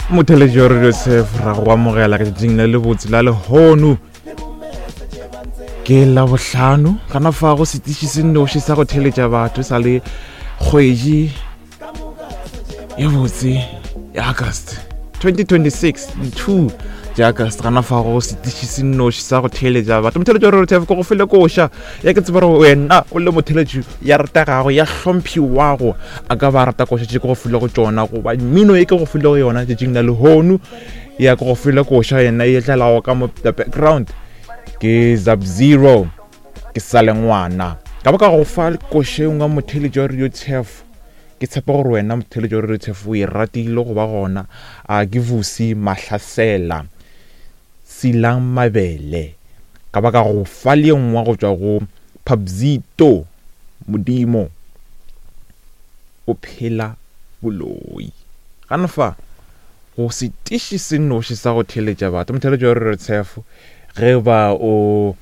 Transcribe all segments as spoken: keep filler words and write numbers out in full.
Motheletši wa Radio Tshef, ra go amogela ka tšatšing le lebotse la lehono. Ke Labohlano, gana fa go setiši se nnoši sa go theletša batho sa le kgwedi ye botse ya August twenty twenty-six, di-two tša August. Gana fa go setiši se nnoši sa go theletša batho. Motheletši wa Radio Tshef, ke go file koša ya ke tseba gore wena o le motheletši ya rategago, ya hlomphiwago, a ka ba rata koša tše ke go file go tšona, goba mmino e ke go file go yona tšatšing la lehono. Ya ke go file koša yena e tlelago ka mo the background ke Zap Zero, ke sa le ngwana. Ka ba ka go fa koša e nngwe motheletši wa Radio Tshef, ke tshepa gore wena motheletši wa Radio Tshef o e ratile go ba gona. A ke Vusi Mahlasela, Silang Mabele. Ka ba ka go fa le nngwe go tšwa go Pabzito, Modimo o phela boloi. Gana fa go setiši se nnoši sa go theletša batho. Motheletši wa Radio Tshef, ge ba o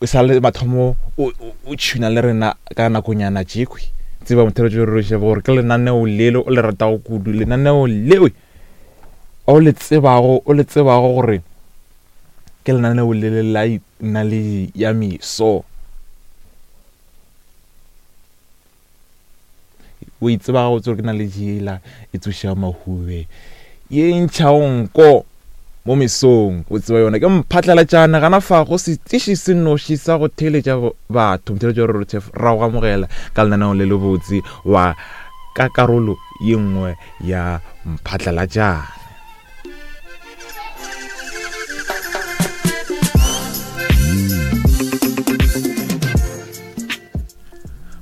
o sa le mathomo o o tšhuna le rena ka nakonyana tšekhwi, tseba motheletši wa Radio Tshef gore ke lenaneo lele o le ratago kudu, lenaneo leo o le tsebago, o le tsebago gore ke lenaneo lele la naledi ya meso. O e tseba gabotse gore ke naledi yela e tsoša mahube, ye ntšhago nko mo mesong, o tseba yona. Ke mphatlalatšana gana fa go setiši se nnoši sa go theletša batho. Motheletši wa Radio Tshef, ra go amogela ka lenaneo le lebotse wa ka karolo ye nngwe ya mphatlalatšana.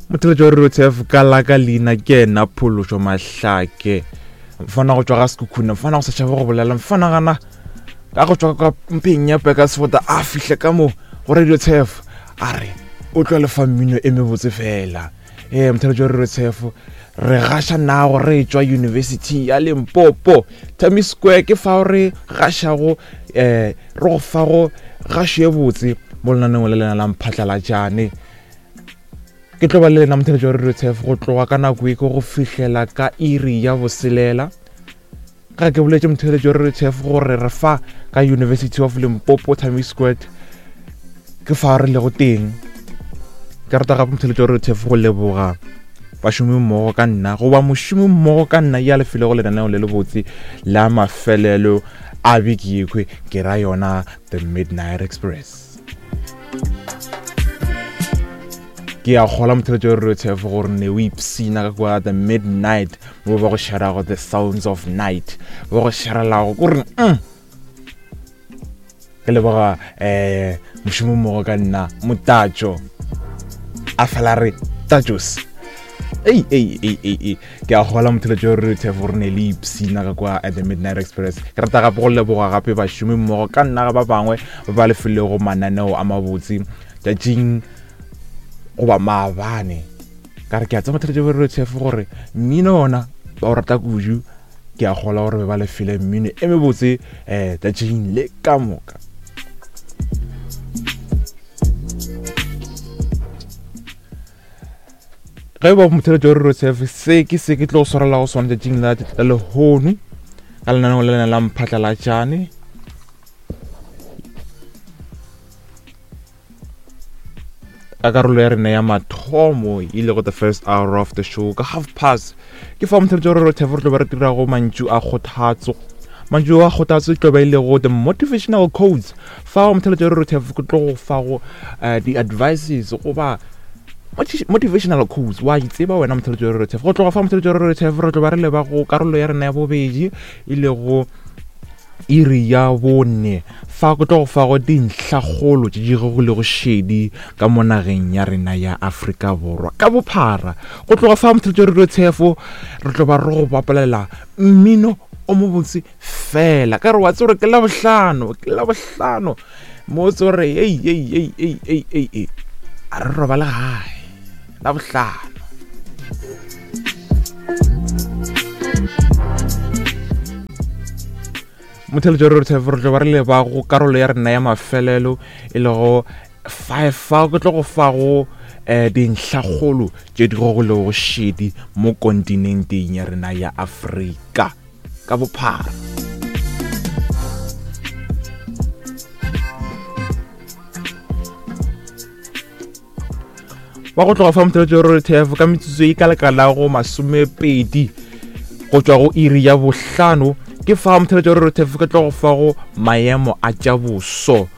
Motheletši wa Radio Tshef, ka la ka leina ke ena Phološo Mahlake, mfana go tšwa ga Sekhukhune, mfana go sa tšhabe go bolela, mfana gana ka go tšwa ka mpeng ya Peka Sefota, a fihle ka mo go Radio Tshef, a re o tlo lefa mmino e mebotse fela. Ee, motheletši wa Radio Tshef, re gaša nago re tšwa University ya Limpopo, Tami Square, ke fao re gašago, eh, re go fago gašo ye botse mo lenaneong le lena la mphatlalatšane. Ke tlo ba le lena motheletši wa Radio Tshef go tloga ka nako e ke go fihlela ka iri ya boselela. Ga ke boletše motheletši wa Radio Tshef gore re fa ka University of Limpopo, Tami Square, ke fa re lego teng. Ke rata gape motheletši wa Radio Tshef go leboga bašomi mmogo ka nna, goba mošomi mmogo ka nna ya lefelo go lenaneo le lebotse la mafelelo a beke yekhwe, ke ra yona The Midnight Express. Ke a kgola motheletši wa Radio Tshef gore ne o ipsina ka kwa The Midnight, mo ba go sharago The Sounds of Night, ba go sharelago kore mm. Ke leboga eh mošomi mmogo ka nna Motatšo, a fela re Tatšos. Ei, ei, ei, ei, ei. Ke a kgola motheletši wa Radio Tshef gore ne le ipsina ka kwa at The Midnight Express. Ke rata gape go leboga gape bašomi mmogo ka nna ba bangwe ba ba lefilego mananeo a mabotse tšatšing goba maabane. Ka re ke a tseba motheletši wa Radio Tshef gore mmino ona ba o rata kudu. Ke a kgola gore ba lefile mmino e mebotse eh tšatšing le ka moka. Ge ba motheletši wa Radio Tshef, se ke se ke tlo swarela go sona tšatšing la lehono ka lenaneo le lena la mphatlalatšane. Ka karolo ya rena ya mathomo e lego the first hour of the show ka half past, ke fa motheletši wa Radio Tshef re tlo ba re dirago mantšu a kgothatso. Mantšu a kgothatso e tlo ba e lego the motivational quotes. Fa motheletši wa Radio Tshef ke tlo go fa go di-advices goba motivational quotes, wa itseba wena motheletši wa Radio Tshef. Go tloga fa motheletši wa Radio Tshef re tlo ba re leba go karolo ya rena ya bobedi e lego iri ya bone. Fa go tlo go fa go dintlhakgolo tše di go lego šedi ka mo nageng ya rena ya Afrika Borwa ka bophara. Go tloga fa motheletši wa Radio Tshef re tlo ba re go bapalela mmino o mobotse fela. Ka re wa tseba gore ke Labohlano, ke Labohlano mo tse gore ei ei ei ei ei ei ei, a re robale gae Labohlano. Motheletši wa Radio Tshef re tlo ba re leba go karolo ya rena ya mafelelo e lego five. Fa ke tlo go fa go eh dintlhakgolo tše di go lego šedi mo kontinenteng ya rena ya Afrika. ka bophara. Wa go tloga fa motheletšo wa R T F ka metsotso e ka lekalago masomepedi go tšwa go iri ya bohlano, ke fa motheletšo wa R T F ke tlo go fa go maemo a tša boso,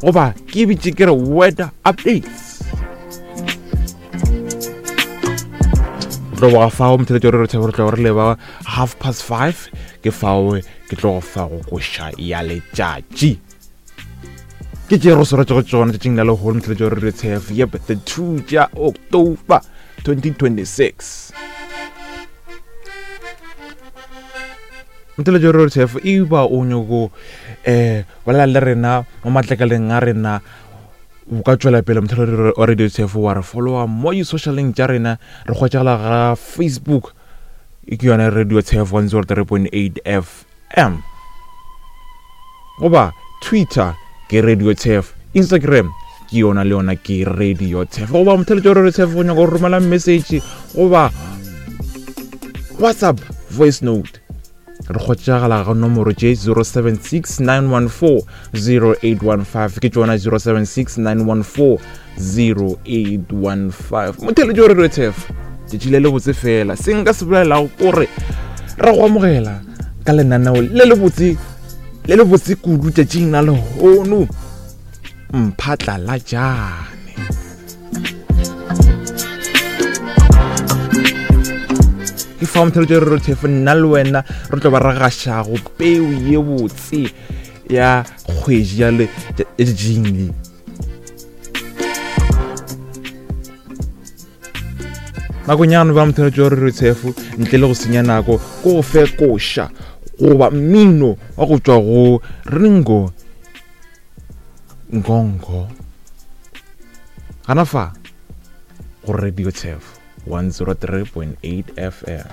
goba ke bitše ke re weather updates. Tlo go fa motheletšo wa R T F re tlo re leba half past five, ke fao ke tlo go fa go koša ya letšatši. Ke tše re swaretše go tšona tšatšing la lehono motheletšo wa R T F, yep, the two tša October twenty twenty-six. Motheletšo wa R T F e ba o nyako eh bolela le rena mo matlakaleng a rena, o ka tšwela pele motheletšo wa Radio T F wa re followa mo di-socialeng tša rena, re hwetšagala ga Facebook ke yona Radio T F one zero three point eight F M, goba Twitter ke Radio T F, Instagram ke yona le yona ke Radio T F, goba motheletšo wa Radio T F o nyaka go romela message goba WhatsApp voice note, re hwetšagala ga nomoro tše zero seven six nine one four zero eight one five, ke tšona zero seven six nine one four zero eight one five. Motheletšo wa Radio T F tšatši le le botse fela, se nka se bolelago kore re go amogela ka lenaneo le le botse le le botse kudu tšatšing la lehono, Mphatlalatšane. Ke fa motheletšo wa Radio T F nna le wena re tlo ba re gašago peu ye botse ya kgwedi ya le letšatšing le. Nakonyana ba motheletšo wa Radio T F ntle le go senya nako ko go fe koša goba mmino wa go tšwa go Ringo Ngongo gana fa go Radio T F one zero three point eight F M.